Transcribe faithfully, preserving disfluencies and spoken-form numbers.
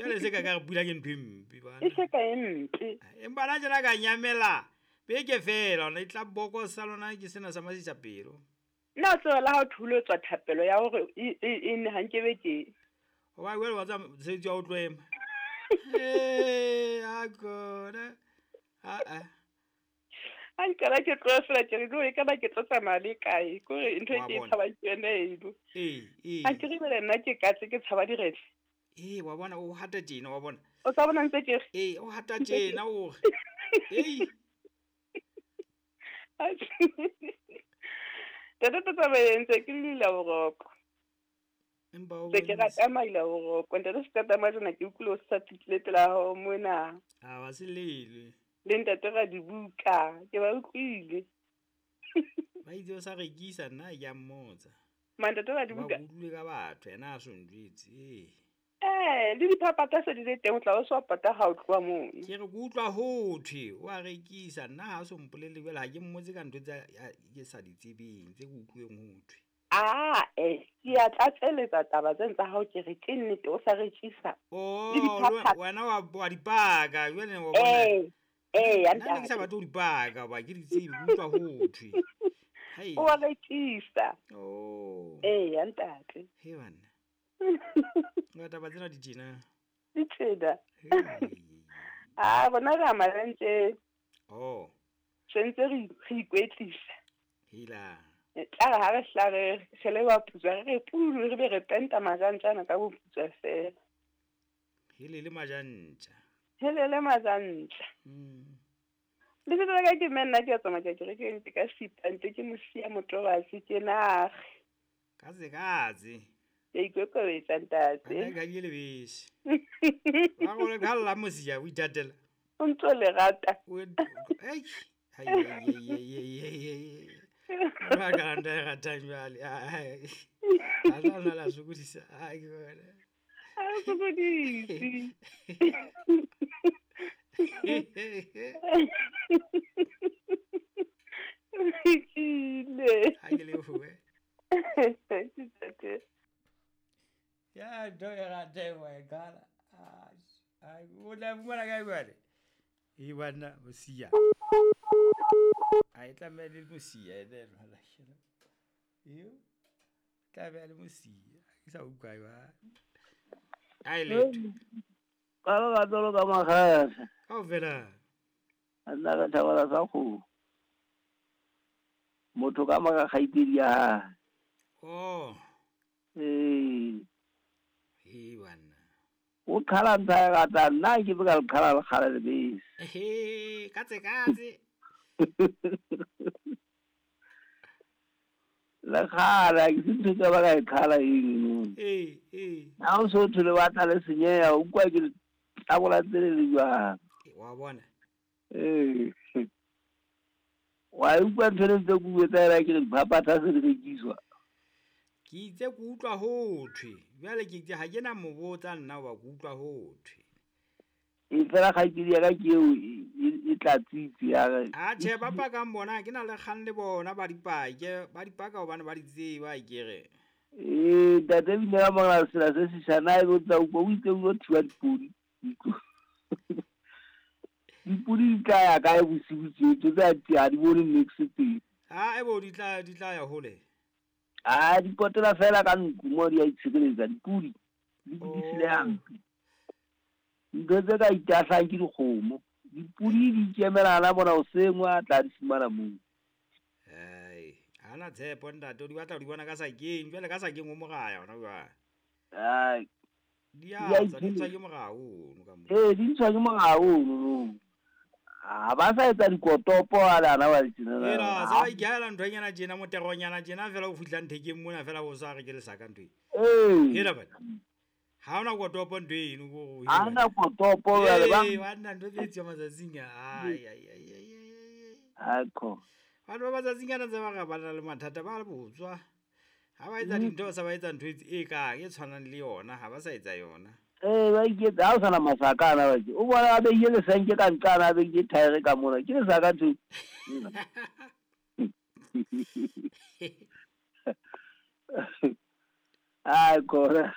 Jwale se ka ka re pula ke ntho e mpe bana. E se ka e mpe. Empa na tjena ka nyamela beke fela ona e tla bokosa lona ke sena sa masisa pelo. Nna o tseba la ha o thuletswa thapelo ya hore e e ne ha nkebe ke. O ba wela wa tsa mosebetsi wa o tlo ema. Eh, a kona. A a. Ha nkela ke tlo fela ke re no e ka ba ke tlo tsamaya le kae kore ntho e ke e tshaba ke yone eno. Ee, ee. Ha ke re bele nna ke katse ke tshaba diretse. Ee, wa bona o hata tjena wa bona. O tsa bona ntse ke re. Ee, o hata tjena o re. Ei. Tata tata ba ntse ke lila boroko. Empa o ke rata maila boroko ntate se tata majona ke utlwile o sa fitlile pela hao mona. A ba se lele. Le ntate ra dibuka ke ba utlwile. Ba itse o sa rekisa nna ke a mmotsa. Mantate ra dibuka. Ba utlwile ka batho yena a so njwetse. Ee. Eh, le diphaphatha se di le teng o tla o so pata ha o tloha mono. Ke re ke utlwa ho thwe o a rekisa nna ha so mpolelle jwale ha ke mmotse ka ntho tsa ke sa di tsebeng tse ke utlweng ho thwe. Ah, eh, ke a tlatseletsa taba tse tsa hao ke re ke nnete o sa rekisa. Oh, wena wa wa dipaka jwale wa bona. Eh, eh, ya nna ke sa batho dipaka ba ke di tsebe ke utlwa ho thwe. Hai. O a rekisa. Oh. Eh, ya ntate. He bana. Nga taba tsena di tjena. Di tjena. Ah, bona re amalantse. Oh. Sentse re re ikwetlisa. Hila. Tla re ha re hla re re le ba putswa re re pulu re be re penta majantjana ka boputswa fela. Hele le majantja. Hele le majantja. Mm. Le se ka ke menna ke tsamaya ke re ke ntse ka sipante ke mosia motobatsi ke nage. Katse katse. Ke ikokobetsa ntate. Nna ka di lebese. Ba go le ka la mosia o ithatela. O ntse le rata. Ei. Hai ai ai ai ai. Ba ka nda rata jwale. Ai. A la la sokodisa. Ai ke bona. A sokodise. Ke Ha ke le fuwe. Ntate. Ya ntho e ratang wa e qala. Ai, o tla fumana kae jwale? E bana mosia. A e tlameha le mosia ene jwale. Iyo. Tlameha le mosia. Ke sa utlwa jwale. Ai letho. Ka ba tolo ka makgasa. Kaofela. Nna ka thabela sa kgomo. Motho ka maka kgaitsedi ya hae. Oh. Ee. He bana. O qhala ntho ya rata nna ke be ka le qhala le kgale lebese. Ehe, katse katse. Le kgala ke se ntho tsa ba ka e qhala eng. Ee, ee. Ha o so thole ba tla le senyeha o utlwa ke tabola tsele le jwang. Wa bona. Ee. Wa utlwa ntho le tse ke tsa ela ke re diphaphatha se di rekiswa. Ke itse ke utlwa ho thwe jwale ke itse ha ke na mo botsa nna wa ke utlwa ho thwe. E fela kgaitsedi ya ka ke eo e tlatsitse ya re. A tjhe ba pakang bona ke na le kgang le bona ba dipake ba dipaka hobane ba di tseba ke re. Ee ntate bile ka mora sela se seshana e botsa utlwa o itse o thiwa dipodi. Dipodi di tla ya kae bosiu tje tse tsa di bone next teng. Ha e bo di tla di tla ya hole. Ah, di potela fela ka ntlo mo di a itshireletsa dipodi di di hampe. Ntho tse ka itahlang ke dikgomo. Dipodi di ikemela la bona o sengwe a tla di fumana moo. Ai, ana tshepo ntate o di batla o di bona ka sakeng, jwale ka sakeng o moraya hona jwale. Ai. Di a tswa di tswa ke morao ono ka moo. Ee, di tswa ke morao ono. Ah, ba sa etsa dikotopo a lana ba tjena. Ela, sa ba ikela nthonyana tjena moteronyana tjena fela o fihla nthekeng mona fela o sa re ke lesaka ntho e. Ee. Hela bana. Ha ona kotopo ntho eno go. Ha ona kotopo jwale ba. Ee, ba nna ntho tse tswa matsatsing a. Ai ai ai ai ai. Akho. Batho ba matsatsing ana tse ba ga ba na le mathata ba botswa. Ha ba etsa dintho ba sa ba etsa ntho e kang e tshwanang le yona ha ba sa etsa yona. Eh ba iketsa ha o sana masaka ana ba ke. O bona ba beile lesenke ka nqana ba beile thaere ka mona. Ke lesaka ntho. Ai kora.